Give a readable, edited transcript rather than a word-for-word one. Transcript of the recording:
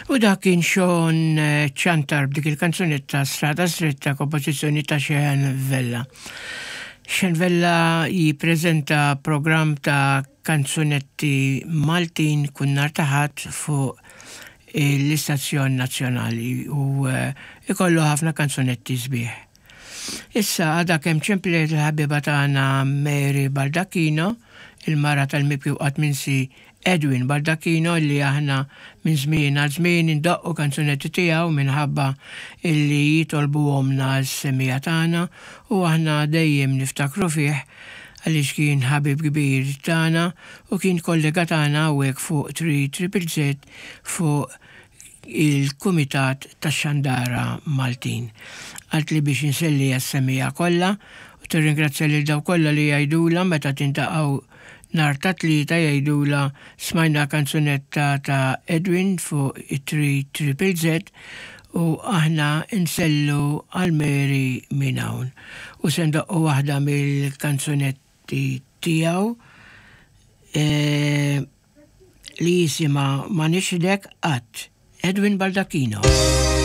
U dak kien Sean Ciantar b'dik il-kanzunetta Strada Stretta kompożizzjoni ta' Sean Vella. Sean Vella jippreżenta programm ta' kanzunetti Maltin kull nhar ta' Ħadd fuq l-istazzjon nazzjonali u ikollu ħafna kanzunetti sbieħ. Issa għadha kemm ċemplet il-ħabiba tagħna Mary Baldacchino, il-mara tal-mibki u qatt minsi Edwin Baldacchino li aħna minn żmien għal żmien indoqqu kanzunetti tiegħu minħabba illi jitolbuhomlna s-semmiegħa tagħna u aħna dejjem niftakru fih għaliex kien ħabib kbir tagħna u kien kollega tagħna hawnhekk fuq 3ZZZ fuq il-Kumitat tax-Xandara Maltin. Qaltli biex inselli għas-semmiegħa kollha u tirringrazzja lil dawk kollha li jgħidulha meta tintaqgħu nhar ta' Tlieta jgħidulha smajna kanzunetta ta' Edwin fuq it-3ZZZ u aħna nsellu għal Mary minn hawn. U se ndoqqu waħda mill-kanzunetti tiegħu li jisimha Ma Nixhdek Qatt, Edwin Baldacchino.